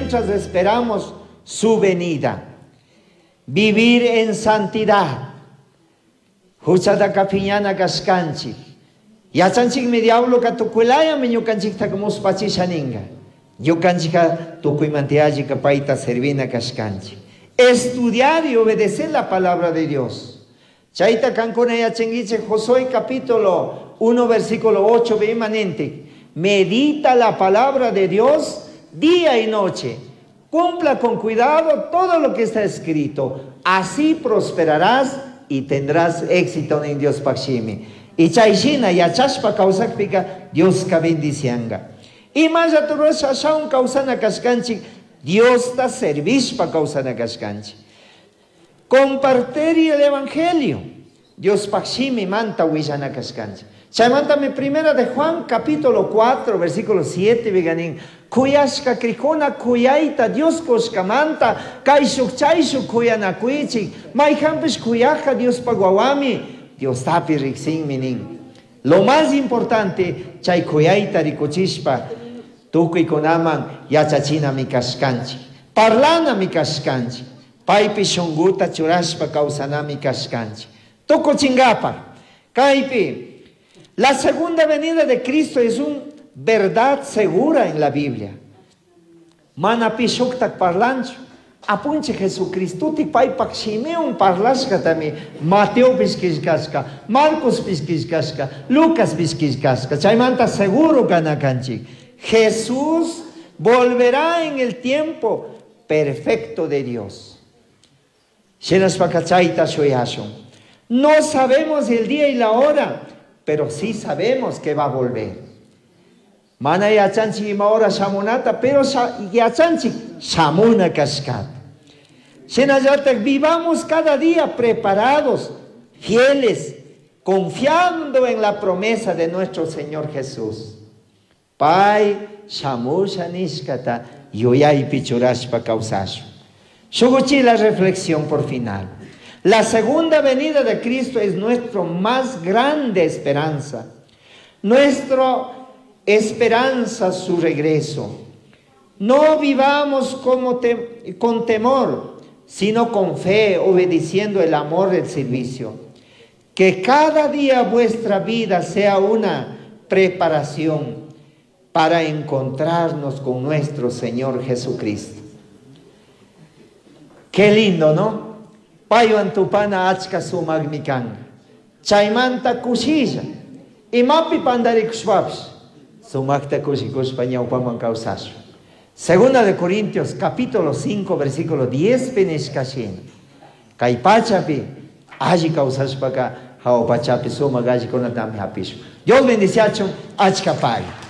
Mientras esperamos su venida. Vivir en santidad. Juchataca piñana kashkanchik. Yachanchikmi diabloka tukuilayami ñukanchiktaka muspachisha ninga. Ñukanchikka tukuymanta yallika payta servina kashkanchik. Estudiar y obedecer la palabra de Dios. Chayta kankuna yachankichik Josué capítulo 1 versículo 8 imanente. Medita la palabra de Dios día y noche. Cumpla con cuidado todo lo que está escrito. Así prosperarás y tendrás éxito en Diospaj shimi. Y chay shina yachashpa kawsakpika Dioska bendicianga. Imallata rurasha ashawan kawsana kashkanchik Diosta servishpa kawsana kashkanchik. Compartir el evangelio. Diospaj shimimanta willana kashkanchik. Chaymantami Primera de Juan capítulo 4 versículo 7 pica nin kuyashka crijkuna kuyayta Dios kushkamanta kayshuk chayshuk kuyanakuichik mayjanpish kuyajka Diospaj wawami Diostapi riksinmi nin. Lo más importante chay kuyayta rikuchishpa tukuykunaman yachachinami kashkanchik. Parlanami kashkanchik. Paypi shunguta churashpa kawsanami kashkanchik. Tukuchinkapaj kaypi la segunda venida de Cristo es una verdad segura en la Biblia. Mana pi shuktak parlanchu. Apunchik Jesucristuti paypak shimiwan parlashkatami Mateopish killkashka, Marcospish killkashka, Lucaspish killkashka. Chaymanta seguro kana kanchik. Jesús volverá en el tiempo perfecto de Dios. Shinashpaka chayta shuyashun. No sabemos el día y la hora, pero sí sabemos que va a volver. Mana yachanchik ima hora shamunata, pero yachanchik shamuna kashkata. Shinallatak vivamos cada día preparados, fieles, confiando en la promesa de nuestro Señor Jesús. Pay shamusha nishkata yuyaypi churashpa kawsashun. Shuk uchila reflexión por final. La segunda venida de Cristo es nuestra más grande esperanza. Nuestra esperanza, su regreso. No vivamos como con temor, sino con fe, obedeciendo el amor del servicio. Que cada día vuestra vida sea una preparación para encontrarnos con nuestro Señor Jesucristo. Qué lindo, ¿no? Paywan tupana achka sumaqmi kan. Chaymanta kushilla. Imapi pandarikushpapish sumaqta kushikushpa ñawpaman kawsashun. Segunda de Corintios capítulo 5 versículo 10 pi nishka shina. Kay pachapi alli kawsashpaka hawa pachapi sumaq allikunatami hapishun. Dios bendiciachun achka pagui.